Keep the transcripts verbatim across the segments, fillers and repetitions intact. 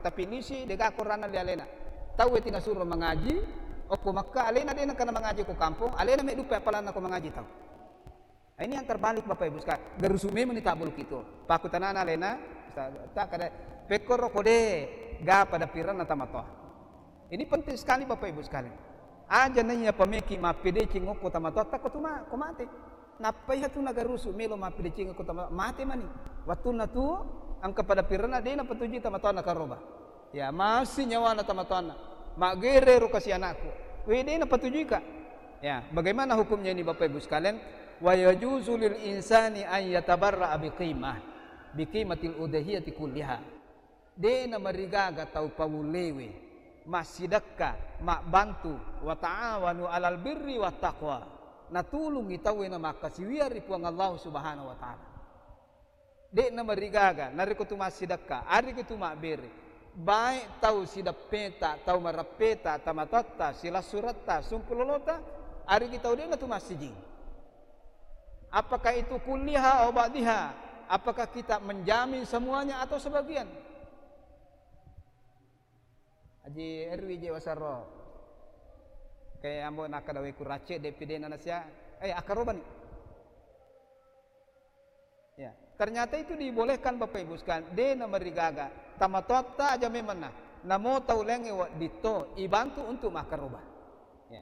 Tapi lisi, dega koranna le alena. Tau e tinasuro mangaji, okko Mekka, alena dena kana mangaji ko kampong, alena me duppe appalanna ko mangaji tau. Ini yang terbalik, Bapak Ibu sekalian. Garusu memang ni tabbulu kitu. Pakutanana alena, Ustaz, tak kada pekkoro kode ga pada piranna tamatoa. Ini penting sekali, Bapak Ibu sekalian. Aja naiya pameki mappedeceng okko tamatoatta ko tuma, ko mate. Nappai hatu nagarusu melo mappedeceng okko tama, mate mani. Wattunna tu engka pada piranna de napatujui tamatoanna karoba. Ya, masih nyawana tamatoanna. Maggere ro kasi anakku. We de napatujuika. Ya, bagaimana hukumnya ini, Bapak Ibu sekalian? Wa yajuzu lil insani an yatabarra'a bi qimah, bi qimatil udhiyati kulliha. De namarigaga tau pawulewe massidekka, mabbantu, wa ta'awanu alal birri wat taqwa. Natulungi tauwe namakkasiwiang ri Puang Allah Subhanahu wa Ta'ala. De namarigaga, narekko tu massidekka, arekko tu mabbere, baik tau sideppeta, tau mareppeta, tamatoatta, silassuretta, sumpulolota, arekko tau de natu massijing. Apakah itu kulliha au ba'diha? Apakah kita menjamin semuanya atau sebagian? Haji Erwi je wasaro. Kayak ambo nakkeda we kurace de pidena nasia. Eh, akkarobani. Ya, ternyata itu dibolehkan, Bapak Ibu sekalian. De namarigaga. Tamatoatta aja memang nah. Namo tau laingnge wedditto ibantu untuk makkaroba. Ya.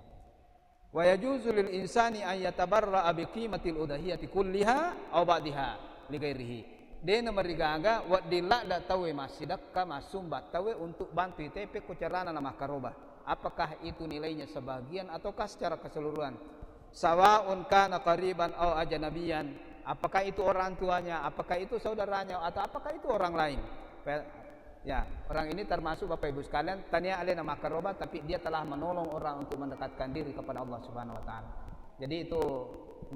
Wa yajuzu lil insani an yatabarra'a bi qimatil udhiyati kulliha au ba'diha li ghairihi. De namarigaga wedding ladda tauwe massidekka, massumba tauwe untuk bantu itepe ko carana namakkaroba. Apakah itu nilainya sebagian ataukah secara keseluruhan? Sawa'un kana qariban au ajnabiyan. Apakah itu orang tuanya, apakah itu saudaranya, atau apakah itu orang lain? Pe-, Ya, orang ini termasuk, Bapak Ibu sekalian, tania alena makkaroba, tapi dia telah menolong orang untuk mendekatkan diri kepada Allah Subhanahu wa Ta'ala. Jadi itu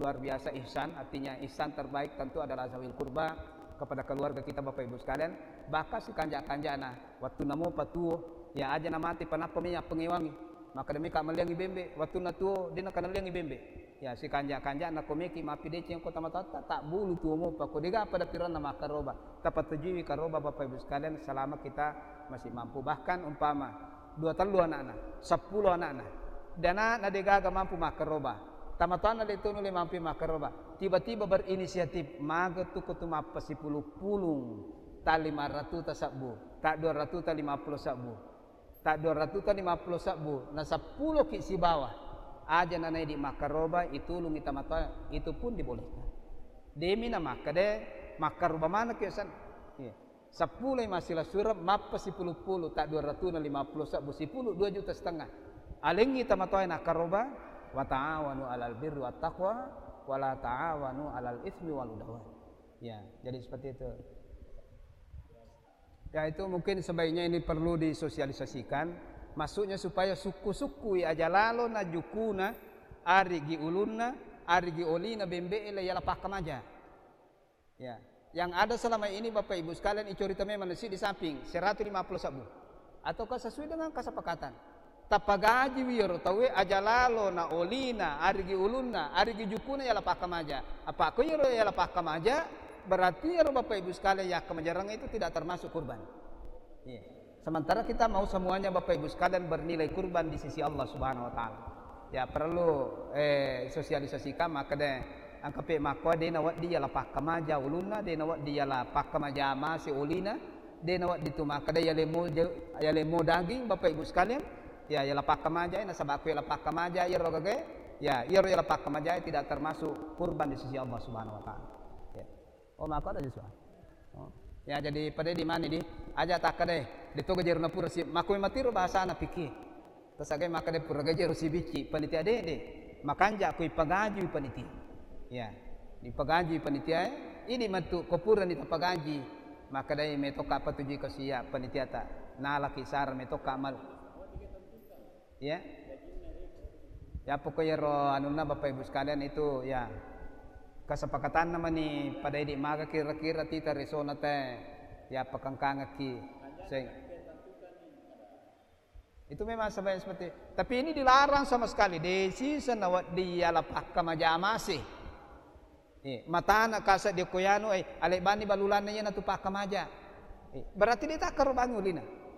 luar biasa ihsan, artinya ihsan terbaik tentu adalah zawil kurba kepada keluarga kita, Bapak Ibu sekalian. Bahkan si kanja-kanjana, waktu namo patuo, ya aja namati panappa mi appengewangi. Makkeda mika melliangngi bembe, wattunna tuo, de nakanelliangngi bembe. Ya, sikanja-kanjana ko meki mappideceng ko tamatoatta, tabbulu tuo mopa ko dega pada piranna makkaroba. Tapatujuiwi karoba, Bapak Ibu sekalian, selama kita masih mampu. Bahkan umpama dua tellu anakna, seppulo anakna, dana na degaga mampu makkaroba. Tamatoanna de tonu le mampu makkaroba. Tiba-tiba berinisiatif, maga tu ko tu mappasipulung-pulung, ta lima ratuta sebbu, ta dua ratuta lima puluh sebbu. Ta dua ratuta lima puluh sebbu, na seppulo ki sibawa. Aja nanaidi makkaroba, itulungi tamatoa, itu pun dibolehkan. Demi na makkeda, makkaroba maneng ki san. Iya. Seppulo i massilasureng, mappa sipulung-pulung, ta dua ratuna lima puluh sebbu, sipulung dua juta setengah. Alengngi tamatoa nakkaroba, wa ta'awanu alal birri wat taqwa, wa la ta'awanu alal ismi wal udwan. Ya, jadi seperti itu. Ya, itu mungkin sebaiknya ini perlu disosialisasikan. Maksudnya supaya sukku-sukkui aja lalo na jukuna, arigi ulunna, arigi olina bembe'e la yala pakkamaja. Ya. Yang ada selama ini Bapak Ibu sekalian icorita memang nasi di samping seratus lima puluh sebbu. Ataukah sesuai dengan kesepakatan? Tapagajiwi iyaro tauwe aja lalo na olina, arigi ulunna, arigi jukuna yala pakkamaja. Apa ko iyaro yala pakkamaja, berarti iyaro Bapak Ibu sekalian yakka majareng itu tidak termasuk kurban. Iya. Sementara kita mau semuanya Bapak Ibu sekalian bernilai kurban di sisi Allah Subhanahu wa Ta'ala. Ya, perlu, eh, sosialisasikan, makkeda engka pe makkoa de nawedding yala pakkamaja ulunna, de nawedding yala pakkamaja mase olina, de nawedding tu makkeda yalemo je-, yalemo daging, Bapak Ibu sekalian, ya, yala pakkamaja, nasaba ko yala pakkamaja iyaro gagae, ya, iyaro yala pakkamaja tidak termasuk kurban di sisi Allah Subhanahu wa Ta'ala. Ya. Oh, mako ada Joshua. Oh. Ya, jadi pada di mana di? Aja takkeda, de to gajero na pura si, mako matiro bahasana piki. Tasagai makkeda pura gajero sibicci, panitia dede. Makanja ko ipagajui panitia. Ya. Dipagajui panitia, eh. Ini matu ko pura ni tapagaji. Makkeda metokka patujui ko sia panitia ta. Nalaki sara metokka mal. Ya. Ya, pokok iyaro anunna Bapak Ibu sekalian itu, ya, kesepakatanna mani pada idi maga kira-kira tita resona te, ya, pakengkangekki. Seng. Itu memang sebaik seperti, tapi ini dilarang sama sekali. Desi senawa dia lapakka majamase. Eh, matana kasa dia koyanu, eh, alebani balulanna iya natu pakkamaja. Eh, berarti dia takkarobangi ulina.